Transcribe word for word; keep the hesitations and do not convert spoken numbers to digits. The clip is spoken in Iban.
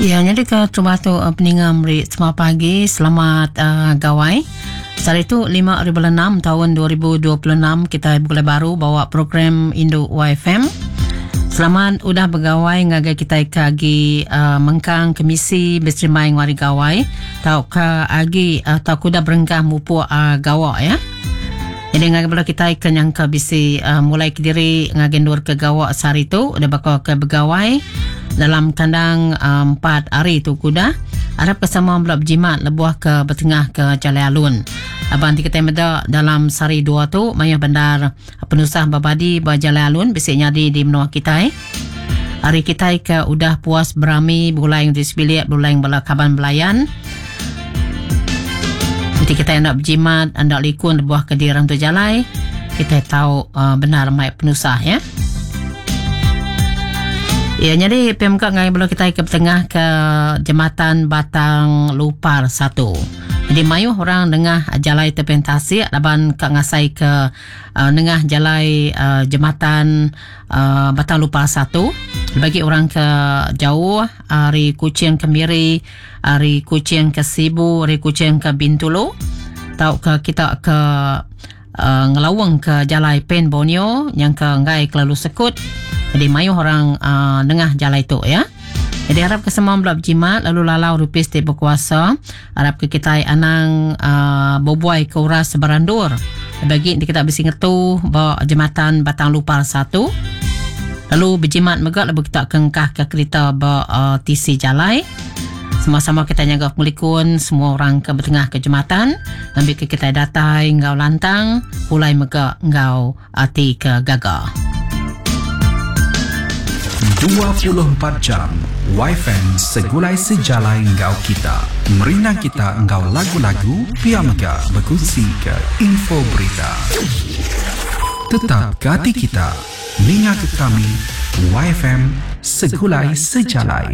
Ya, jadi ke terubah tu peninga meri selamat pagi, selamat uh, gawai. Sehari tu lima hari bulan enam tahun dua ribu dua puluh enam kita begulai baru bawa program Indu Y F M. Selamat udah begawai ngagai kita ke agi uh, mengkang kemisi berserimai ngari gawai tau ke agi uh, tau kuda berengkah mupuk uh, gawak ya. Jadi ngagai bala kita ke nyangka bisi uh, mulai kediri ngagai nur ke gawak sehari tu udah bakal ke begawai dalam kandang uh, empat hari tu kuda. Harap ke sama bela berjimat lebuah ke bertengah ke Jalai Alun. Abang ti kita meda dalam sehari dua tu mayah bandar penusah berbadi ba Jalai Alun bisi nyadi di menua kita. Eh. Hari kita ke udah puas berami berulai di sebilik berulai bala kaban belayan. Nanti kita nak berjimat, anda likun lebuah ke dirang tu jalai, kita tahu uh, benar mai penusah ya. Ya, jadi P M K ngai bela kita ke tengah ke Jembatan Batang Lupar satu. Jadi mayuh orang nengah jalai terpentasi laban ka ngasai ke uh, nengah jalai uh, Jembatan uh, Batang Lupar satu. Bagi orang ke jauh ari Kuching ke Miri, ari Kuching ke Sibu, ari Kuching ke Bintulu, tau ke kita ke uh, ngelawang ke jalai Pen Borneo yang ke ngai kelalu sekut. Jadi mayuh orang uh, nengah jalai tu ya. Jadi harap ke semua belak berjimat lalu lalau rupis ti berkuasa. Harap ke kita anang uh, berbuai ke uras sebarandur. Bagi kita bisi ngetu ba Jembatan Batang Lupar satu. Lalu berjimat megak lalu kita kengkah ke kereta ba uh, T C jalai. Sama-sama kita jaga pengelikun semua orang ke bertengah ke jembatan. Ambil ke kita datai ngau lantang pulai megak ngau ati ke gaga. dua puluh empat jam Y F M segulai sejalai ngau kita. Merindang kita ngau lagu-lagu pia mega berkongsi ke info berita. Tetap gati kita. Ninga ke kami Y F M segulai sejalai.